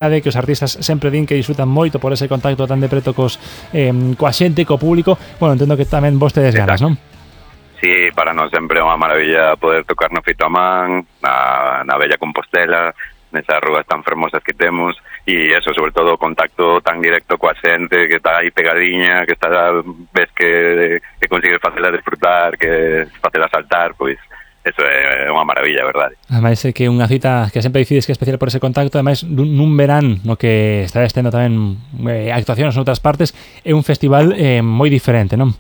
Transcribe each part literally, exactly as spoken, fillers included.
que os artistas sempre din que disfrutan moito por ese contacto tan de preto cos, eh, coa xente, co público. Bueno, entendo que tamén vos tedes ganas, non? Sí, para nós sempre é unha maravilla poder tocar no Fito Amán, na, na Bella Compostela, nesas rúas tan fermosas que temos, e eso, sobre todo, o contacto tan directo coa xente, que está aí pegadiña, que está, ves que, que consigues facela disfrutar, que facela saltar, pois eso é unha maravilla, verdade. Ademais é que unha cita que sempre decides que é especial por ese contacto, ademais nun, nun verán no que estades tendo tamén eh, actuacións en outras partes, é un festival eh, moi diferente, non?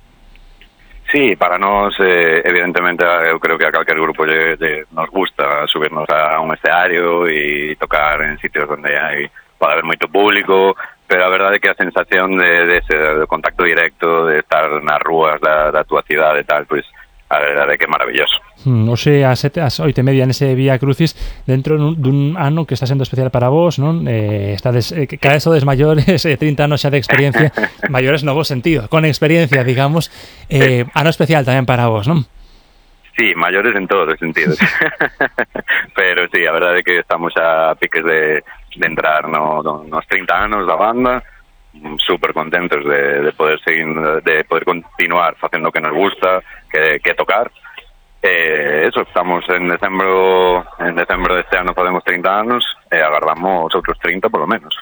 Sí, para nós, eh, evidentemente, eu creo que a calquer grupo lle, lle nos gusta subirnos a un escenario e tocar en sitios onde hai, pode haber moito público, pero a verdade é que a sensación de, de ese de contacto directo, de estar nas rúas da, da tua cidade e tal, pois a verdade é que é maravilloso. Hmm, hoxe ás sete, ás oito e media nese Vía Crucis, dentro dun ano que está sendo especial para vos, non? Eh, estades, eh, cada vez sodes maiores, eh, trinta anos xa de experiencia, maiores no bo sentido, con experiencia, digamos, eh, ano especial tamén para vos, non? Sí, maiores en todos os sentidos. Pero sí, a verdade é que estamos a piques de, de entrar no, no, nos trinta anos da banda, super contentos de, de poder seguir, de poder continuar facendo o que nos gusta, que, que tocar. Eh, eso, estamos en decembro en decembro deste ano podemos trinta anos e agardamos outros trinta polo menos.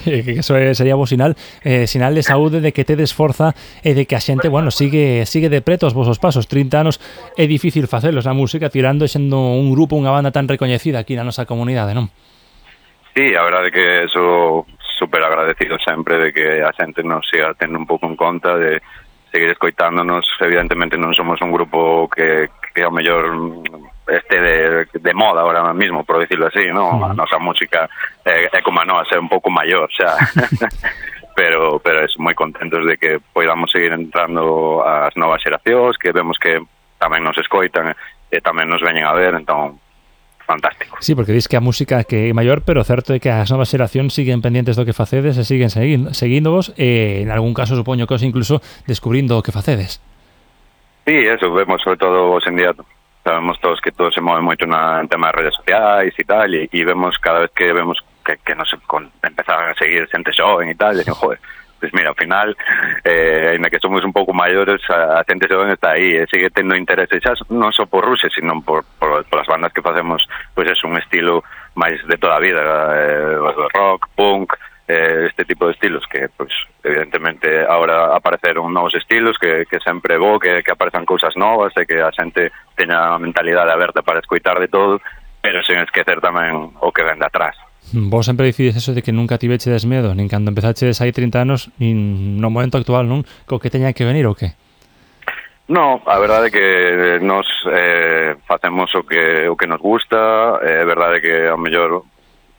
Eso sería bo sinal, eh, sinal de saúde, de que tedes forza e de que a xente, bueno, sigue sigue de preto os vosos pasos. trinta anos é difícil facelos na música, tirando sendo un grupo, unha banda tan recoñecida aquí na nosa comunidade, non? Sí, a verdade é que eso super agradecido sempre de que a xente nos siga tendo un pouco en conta, de seguir escoitándonos. Evidentemente non somos un grupo que, que ao mellor este de, de moda ahora mismo, por decirlo así, ¿no? Uh-huh. A nosa música é, é como a nosa, é un pouco maior, xa. pero pero es moi contentos de que podamos seguir entrando as novas xeracións, que vemos que tamén nos escoitan e tamén nos veñen a ver, entón fantástico. Sí, porque dis que a música que é maior, pero certo é que as novas xeracións siguen pendientes do que facedes e siguen seguindo, seguíndovos e en algún caso supoño que os incluso descubrindo o que facedes. Sí, eso, vemos sobre todo hoxe en día, sabemos todos que todo se move moito na, en tema de redes sociais e tal, e, e vemos cada vez que vemos que, que nos empezan a seguir xente xoven e tal, e dicen, joder, pues mira, ao final, eh, ainda que somos un pouco maiores, a, a xente xoven está aí, e sigue tendo interese, xa non só por Ruxe, sino por, por, por as bandas que facemos, pois pues é un estilo máis de toda a vida, eh, rock, punk, eh, este tipo de estilos, que, pois, pues, evidentemente, agora apareceron novos estilos, que, que sempre é bo, que, que aparezan cousas novas, e que a xente teña a mentalidade aberta para escoitar de todo, pero sen esquecer tamén o que ven de atrás. Vos sempre dicides eso de que nunca tivechedes medo, nin cando empezachedes hai trinta anos, nin no momento actual, non? Co que teña que venir ou que? No, a verdade é que nos eh, facemos o que o que nos gusta, é eh, verdade que ao mellor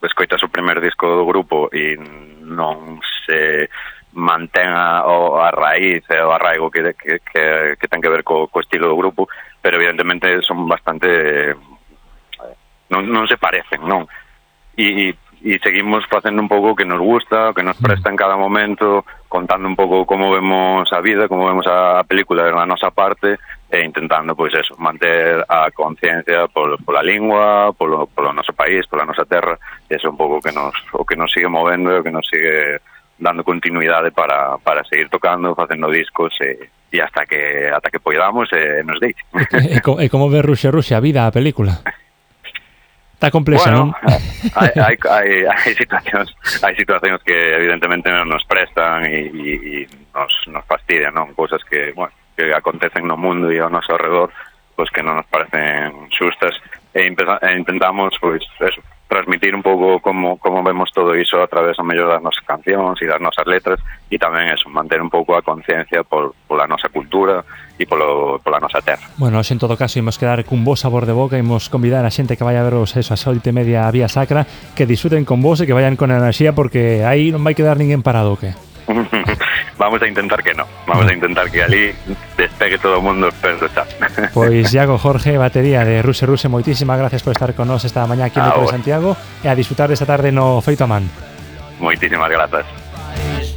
escoitas o primer disco do grupo e non se mantenga o a raíz e o arraigo que, que, que, que ten que ver co, co estilo do grupo, pero evidentemente son bastante non, non se parecen, non? E, e seguimos facendo un pouco o que nos gusta, o que nos presta en cada momento, contando un pouco como vemos a vida, como vemos a película na nosa parte, e intentando, pois eso, manter a conciencia por, pola lingua, polo, polo noso país, pola nosa terra, e eso un pouco que nos, o que nos sigue movendo, o que nos sigue dando continuidade para, para seguir tocando, facendo discos, e, e hasta que hasta que podamos e nos deixe. E, e, e como ve Ruxe Ruxe a vida, a película? Está complexa, bueno, non? hai, hai, hai, hai situacións hai situacións que evidentemente non nos prestan e, e, e nos, nos fastidian, non? Cousas que, bueno, que acontecen no mundo e ao noso alrededor, pois que non nos parecen xustas, e, empeza, e intentamos, pois, eso, transmitir un pouco como, como vemos todo iso a través, ao mellor, das nosas cancións e das nosas letras, e tamén eso, manter un pouco a conciencia por, pola nosa cultura e polo, pola nosa terra. Bueno, en todo caso, imos quedar cun bo sabor de boca, imos convidar a xente que vai a veros eso, a oito e media a Vía Sacra, que disfruten con vos e que vayan con enerxía, porque aí non vai quedar ninguén parado, que? Vamos a intentar que no, vamos a intentar que ali despegue todo o mundo perto está. Pois Iago Jorge, batería de Ruxe Ruxe, moitísimas gracias por estar con nós esta mañá aquí no de Santiago e a disfrutar desta tarde no Feito a Man. Moitísimas grazas.